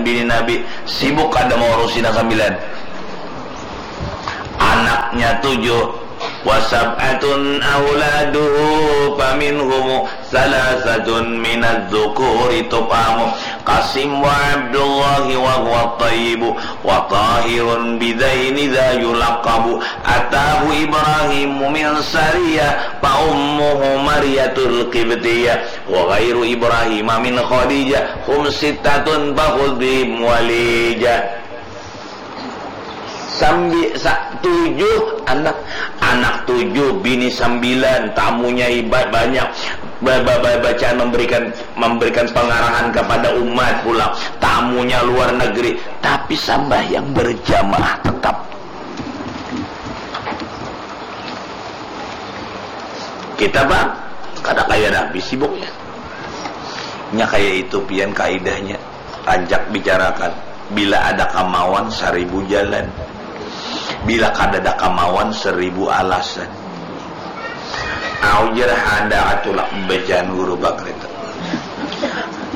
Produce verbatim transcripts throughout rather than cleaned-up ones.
bini Nabi, sibuk kada maurusi nang sambilan. Anaknya tujuh, wa sab'atun auladuhu, faminhumu salasatun minadz dzukuri tufhamu, Qasim wa Abdullahi wa huwa thayyibu, wa Tahirun bidzaini dza yulaqabu, atahu Ibrahimu min Sariyah, fa ummuhu Mariyatul Qibtiyah, wa ghairu Ibrahima min Khadijah, hum sittatun fakhudz bihim walijah. Sambi, sa, tujuh anak, anak tujuh, bini sambilan, tamunya iba-, banyak, ba-, ba-, ba-, bacaan memberikan, memberikan pengarahan kepada umat pula, tamunya luar negeri, tapi sambahyang berjamaah tetap. Kita, Bang, kada kaya Nabi sibuknya. Nya kaya itu pian kaidahnya. Rancak bicarakan. Bila ada kamawan, saribu jalan. Bila kadada kamawan, saribu alasan. Au jar handak tulak bacaan Guru Bakri tu.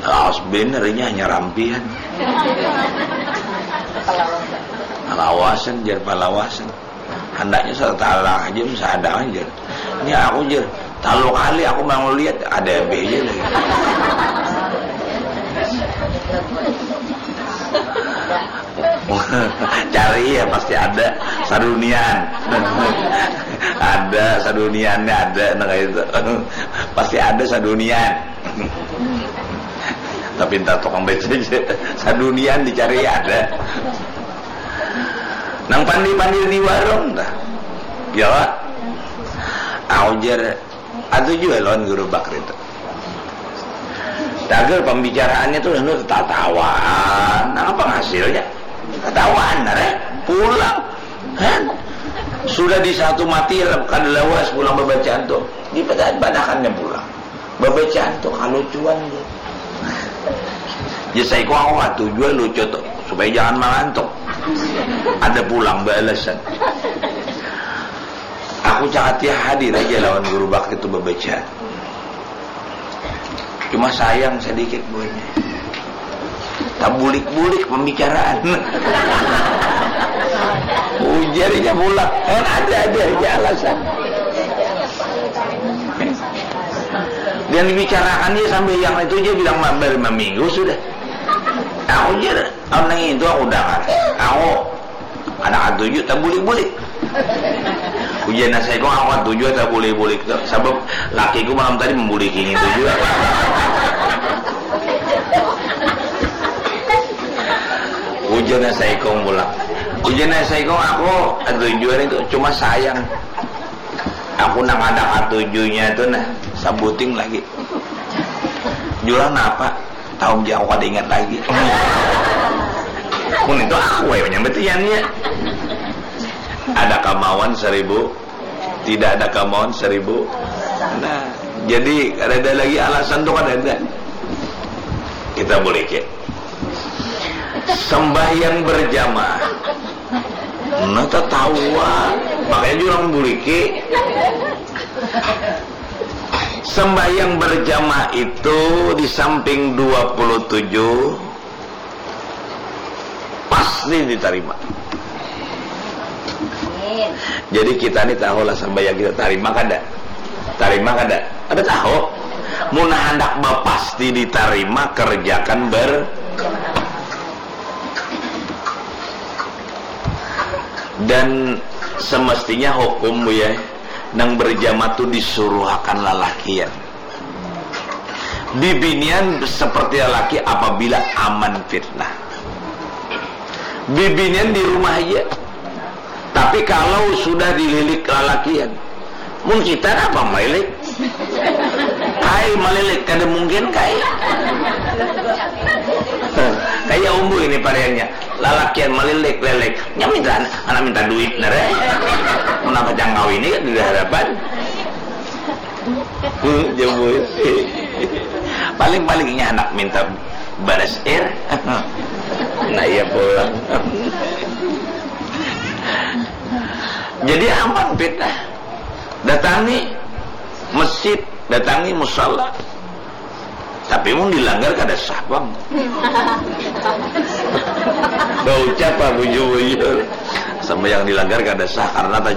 Lawas banar inya hanyar rampihan. Palawasan jar, palawasan. Handaknya satalah aja, sadang aja. Ini aku jar, talu kali aku mau lihat, ada B J lagi. Cari ya, pasti ada sadunian. Ada saduniannya, ada, nah, kayak itu. Pasti ada sadunian. Tapi entah tukang B C J, sadunian dicari ada. Nang pandir-pandir di warung tah. Ya, Wak? Aku jar, atuh jua lawan Guru Bakri tu. Tagal pambicaraannya tu anu tatawaan. Nang apa hasilnya? Tatawaan, nah, eh? Pulang. Kan? Sudah di satu mati, kada lawas pulang babacaan tu. Dipadahakannya pulang. Babacaan tu kalucuan tu. Ya, saiko aku katuju jua lucu tu, supaya jangan mangantuk. Ada pulang baalasan. Aku cakap ya hadir aja lawan Guru Bakri tu babacaan. Cuma sayang sadikit buhannya. Tabulik-bulik pambicaraan. Ujarnya pulang. Kan ada, ada aja alasan. Dan dibicarakan dia sambil yang itu, dia bilang, "Ma-, baru maminggu sudah." Aku jar, "Amun nang itu aku dangar. Aku anak katuju tabulik-bulik." Ujar nang saikung, "Aku katuju tabulik-bulik tu. Sabab lakiku malam tadi mambuliki ngitu jua." Ujar nang saikung pulang. Ujar nang saikung, "Aku katuju hari tu, cuma sayang." Aku nang kada katujunya tu nah, sabuting lagi. Jua napa? Tahu ja aku kada ingat lagi. Mun itu aku ai manyambat iannya. Ada kamawan saribu, tidak ada kamawan saribu. Nah, jadi kada ada lagi alasan tu kada ada. Kita boleh ke. Sembahyang berjamaah. Nah, tatawa. Makanya jurang buliki. Sembahyang berjamaah itu di samping dua puluh tujuh pasti ditarima. Amin. Jadi kita ni tahu lah sembahyang kita tarima kada? Tarima kada? Ada tahu? Mun handak bapasti ditarima, kerjakan ber- Dan semestinya hukum, Buya, nang berjamaah tu disuruhakan lalakian. Bibinian seperti lalaki apabila aman fitnah. Bibinian di rumah aja. Tapi kalau sudah dililik lalakian, mun kita napa malilik? Kai malilik, kada mungkin kai. Kayak umbu ini pariannya, lalakian malilik-lilik. Nya minta, anak minta duit nare. Mun apa jangkau ini kan di hadapan. Hmm, jambul. Paling-palingnya anak minta baras air. Nah, iya pulang. Jadi aman fitnah. Datangi masjid, datangi musala. Tapi mun dilanggar kada sah pang. Baucap ah bujur-bujur. Sembahyang dilanggar kada sah karena tajwid.